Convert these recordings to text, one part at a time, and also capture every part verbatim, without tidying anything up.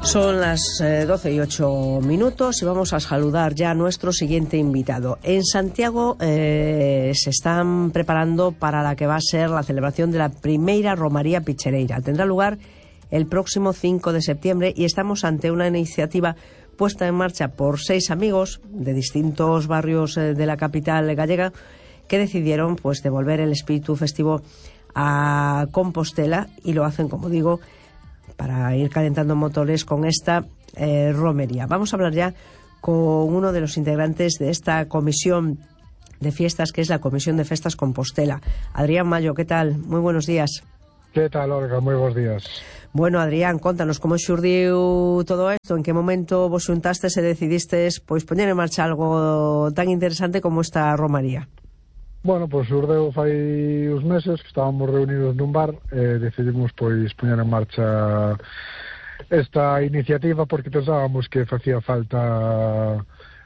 Son las eh, doce y ocho minutos y vamos a saludar ya a nuestro siguiente invitado. En Santiago eh, se están preparando para la que va a ser la celebración de la primeira Romaría Pichereira. Tendrá lugar el próximo cinco de septiembre y estamos ante una iniciativa puesta en marcha por seis amigos de distintos barrios eh, de la capital gallega que decidieron pues devolver el espíritu festivo a Compostela y lo hacen, como digo, para ir calentando motores con esta eh, romería. Vamos a hablar ya con uno de los integrantes de esta comisión de fiestas, que es la Comisión de Festas Compostela. Adrián Mayo, ¿qué tal? Muy buenos días. ¿Qué tal, Olga? Muy buenos días. Bueno, Adrián, contanos como xurdiu todo esto, en que momento vos xuntastes e decidistes pois poñer en marcha algo tan interesante como esta romaría. Bueno, pois xurdeu fai uns meses que estábamos reunidos nun bar e decidimos pois poñer en marcha esta iniciativa porque pensábamos que facía falta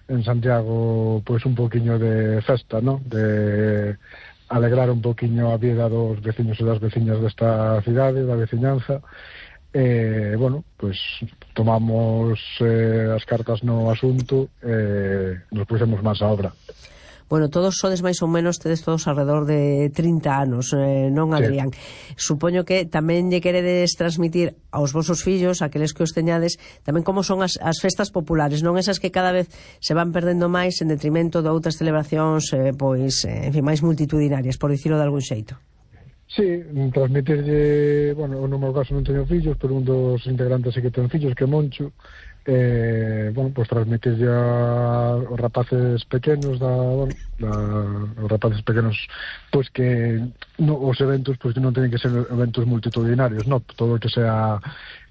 en Santiago pois un poquinho de festa, ¿no? De alegrar un poquinho a vida dos veciños e das veciñas desta cidade, da veciñanza. E, bueno, pois tomamos eh, as cartas no asunto e nos pusemos máis a obra. Bueno, todos sodes máis ou menos, tedes todos alrededor de trinta anos, eh, non, Adrián? Sí. Supoño que tamén lle queredes transmitir aos vosos fillos, aqueles que os teñades, tamén como son as, as festas populares, non esas que cada vez se van perdendo máis en detrimento de outras celebracións, eh, pois, eh, en fin, máis multitudinarias, por dicirlo de algún xeito. Sí, transmitirlle, bueno, no meu caso non teño fillos, pero un dos integrantes sí que ten fillos, que é Moncho, eh, bueno, pues transmitirlle aos rapaces pequenos da, bueno, da, os rapaces pequenos pois pues que no, os eventos pois pues que non teñen que ser eventos multitudinarios, no, todo o que sea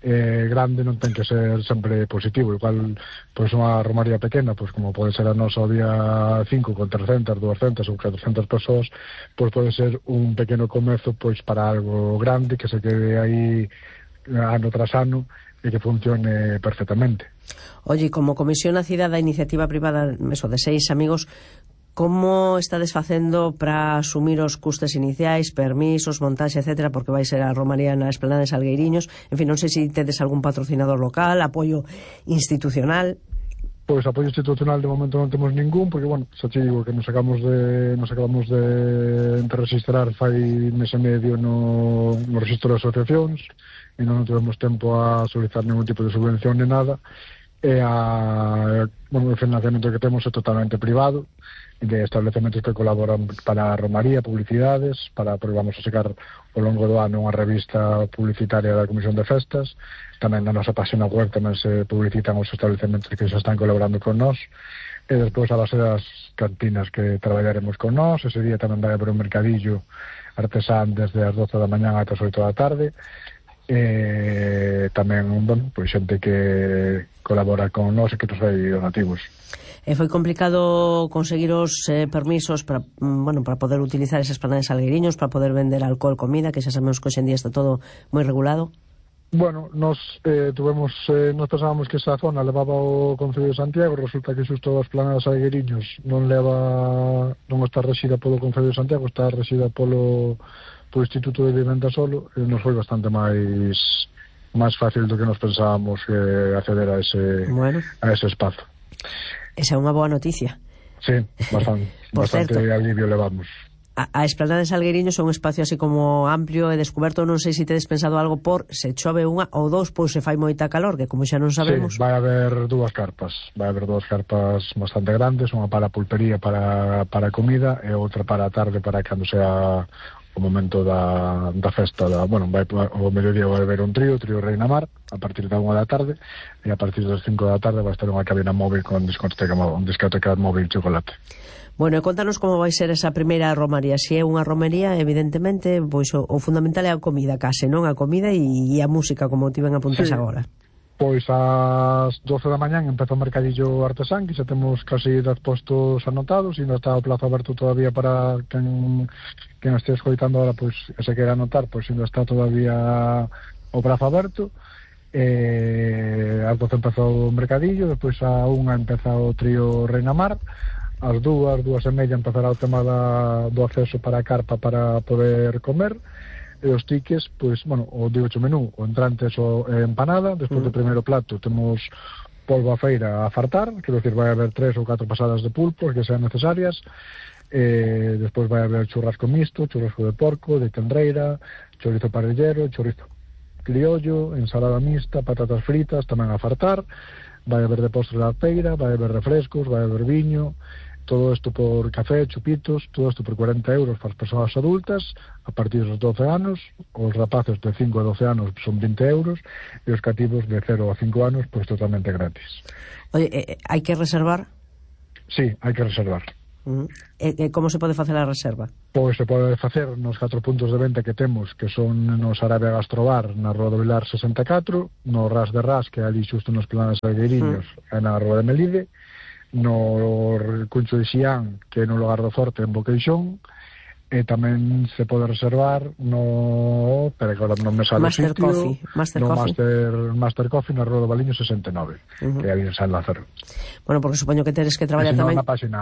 eh, grande non ten que ser sempre positivo, igual pois pues, unha romaría pequena, pois pues, como pode ser a nosa o día cinco con trescentas, duascentas ou catrocentas persoas, pois pues, pode ser un pequeno comezo pois pues, para algo grande que se quede aí ano tras ano e que funcione perfectamente. Oye, como comisión nacida da iniciativa privada eso, de seis amigos, como estades facendo para asumir os custes iniciais, permisos, montaxe, etcétera, porque vai ser a romaría na Esplanada de Salgueiriños? En fin, non sei se tedes algún patrocinador local, apoio institucional. Pois apoio institucional de momento non temos ningún, porque, bueno, xa te digo que nos acabamos de nos acabamos de, de registrar fai mes e medio no, no registro de asociacións, e non tivemos tempo a solicitar ningún tipo de subvención ni nada, e a, bueno, o financiamento que temos é totalmente privado, de establecementos que colaboran para a romaría, publicidades, para, porque vamos a sacar ao longo do ano unha revista publicitaria da Comisión de Festas, tamén na nosa página web tamén se publicitan os establecementos que xa están colaborando con nós, e despois a base das cantinas que traballaremos con nós. Ese día tamén vai haber un mercadillo artesán desde as doce da mañá ata as oito da tarde, e tamén, bueno, pois xente que colabora con nós e que nos fai donativos. E foi complicado conseguir os eh, permisos para, bueno, para poder utilizar esas planadas de Salgueiriños, para poder vender alcohol, comida, que xa sabemos que hoxe en día está todo moi regulado? Bueno, nos eh, tuvemos, eh, nos pensábamos que esa zona levaba o Concello de Santiago, resulta que xusto as planadas de Salgueiriños non leva, non está rexida polo Concello de Santiago, está rexida polo polo Instituto de Vivenda solo, e nos foi bastante máis máis fácil do que nos pensábamos eh, acceder a ese bueno. a ese espazo. Esa é unha boa noticia. Sí, bastante, bastante alivio levamos. A, a Esplanada de Salgueiriños é un espacio así como amplio e descoberto. Non sei se tedes pensado algo por se chove unha ou dous, pois se fai moita calor, que como xa non sabemos. Sí, vai haber dúas carpas, vai haber dúas carpas bastante grandes, unha para a pulpería para, para comida e outra para a tarde para cando sea o momento da, da festa da, bueno, vai, o mediodía vai haber un trío, o trío Reina Mar a partir da unha da tarde, e a partir das cinco da tarde vai estar unha cabina móvil con discoteca, un discoteca móvil chocolate. Bueno, e contanos como vai ser esa primeira romaría. Se é unha romería, evidentemente, pois o, o fundamental é a comida, case, non? A comida e, e a música, como ti ben apuntas sí. agora. Pois ás doce da mañán empeza o mercadillo artesán, que xa temos casi dez postos anotados, e non está o plazo aberto todavía para quen, quen este escoitando ahora, pois, que se queira anotar, pois ainda está todavía o prazo aberto. Eh, ás doce empeza o mercadillo, despois a unha empeza o trío Reina Mar, ás dúas, dúas e media empezará o tema da, do acceso para a carpa para poder comer. e os tiques, pois, bueno, o digo o menú, o entrante o eh, empanada, despois mm. do primeiro plato temos polvo a feira a fartar, quero dicir, vai haber tres ou catro pasadas de pulpo que sean necesarias, eh, despois vai haber churrasco mixto, churrasco de porco, de tendreira, chorizo parrillero, chorizo criollo, ensalada mixta, patatas fritas, tamén a fartar, vai haber de postre da feira, vai haber refrescos, vai haber viño, todo isto por café, chupitos, todo isto por cuarenta euros para as persoas adultas, a partir dos doce anos, os rapaces de cinco a doce anos son vinte euros, e os cativos de cero a cinco anos, pois totalmente gratis. Oye, eh, hai que reservar? Sí, hai que reservar. Uh -huh. E, e como se pode facer a reserva? Pois se pode facer nos catro puntos de venta que temos, que son no Sarabia Gastrobar, na Rua do Vilar sesenta e catro, no Ras de Ras, que é ali xusto nos Planes Salgueiriños, uh -huh. e na Rua de Melide, no Cuncho de Xián, que é no Lugar do Forte, en Boqueixón, e tamén se pode reservar no... Espera que agora non me sale o Master sitio. Coffee. Master no Coffee. Master, Master Coffee na Rua do Baliño sesenta e nove, uh -huh. que é ali en San Lázaro. Bueno, porque supoño que teres que traballar tamén... tamén... na página,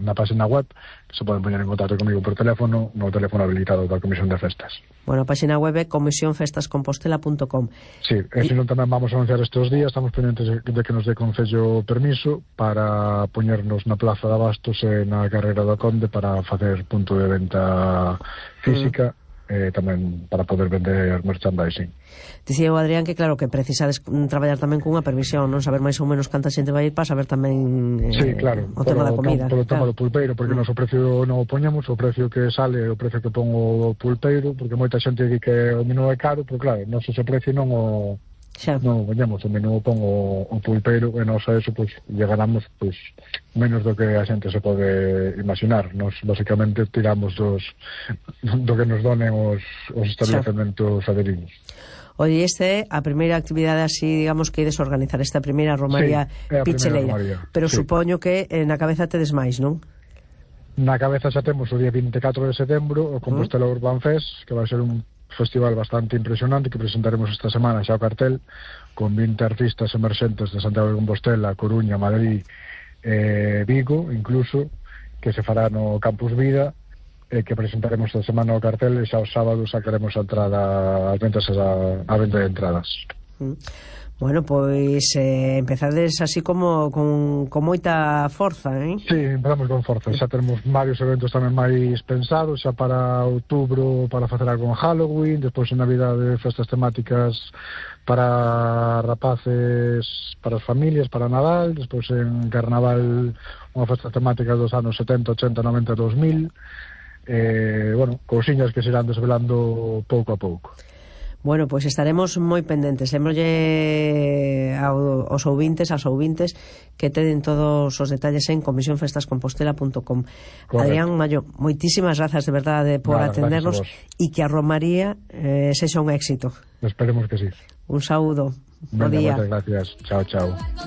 na página web, que se poden poñer en contacto comigo por teléfono, no teléfono habilitado da Comisión de Festas. Bueno, a página web é comisión festas compostela punto com. Sí, e se non tamén vamos a anunciar estes días, estamos pendientes de que nos dé Concello permiso para poñernos na Plaza de Abastos e na Carreira do Conde para facer punto de venta física, mm. eh, tamén para poder vender merchandising. Dicía o Adrián que claro que precisades traballar tamén cunha permisión, non saber máis ou menos canta xente vai ir para saber tamén eh, sí, claro, o tema polo, da comida. No, polo tema claro. do pulpeiro, porque mm. nos o precio non o poñamos, o precio que sale, o precio que pon o pulpeiro, porque moita xente di que o menú é caro, pero claro, non se ese precio non o xa. Non, veñamos, o menú pon o, o pulpeiro e nos a eso, pois, pues, llegaramos pois, pues, menos do que a xente se pode imaginar. Nos, basicamente, tiramos dos, do que nos donen os, os establecementos aderidos. Oye, este é a primeira actividade así, digamos, que ides organizar, esta primeira romaría sí, picheleira. Romaría, pero sí. Supoño que eh, na cabeza tedes máis, non? Na cabeza xa temos o día vinte e catro de setembro o Compostela uh -huh. Urban Fest, que vai ser un festival bastante impresionante que presentaremos esta semana xa o cartel con vinte artistas emerxentes de Santiago de Compostela, Coruña, Madrid e eh, Vigo incluso, que se fará no Campus Vida e eh, que presentaremos esta semana o cartel e xa os sábados sacaremos a entrada as ventas a, a venta de entradas. Mm. Bueno, pois eh, empezades así como con, con moita forza, eh? Sí, empezamos con forza. Xa temos varios eventos tamén máis pensados, xa para outubro para facer algo en Halloween, despois en Navidade festas temáticas para rapaces, para as familias, para Nadal, despois en Carnaval unha festa temática dos anos setenta, ochenta, noventa, dos mil, eh, bueno, cousiñas que se irán desvelando pouco a pouco. Bueno, pois pues estaremos moi pendentes. Lembrole aos ouvintes, aos ouvintes que tenen todos os detalles en comisión festas compostela punto com. Adrián Mallo, moitísimas grazas de verdade por Nada, atendernos e que a Romaría eh, sexa un éxito. Esperemos que sí. Un saúdo. Venga, bo día. Muchas gracias. Chao, chao.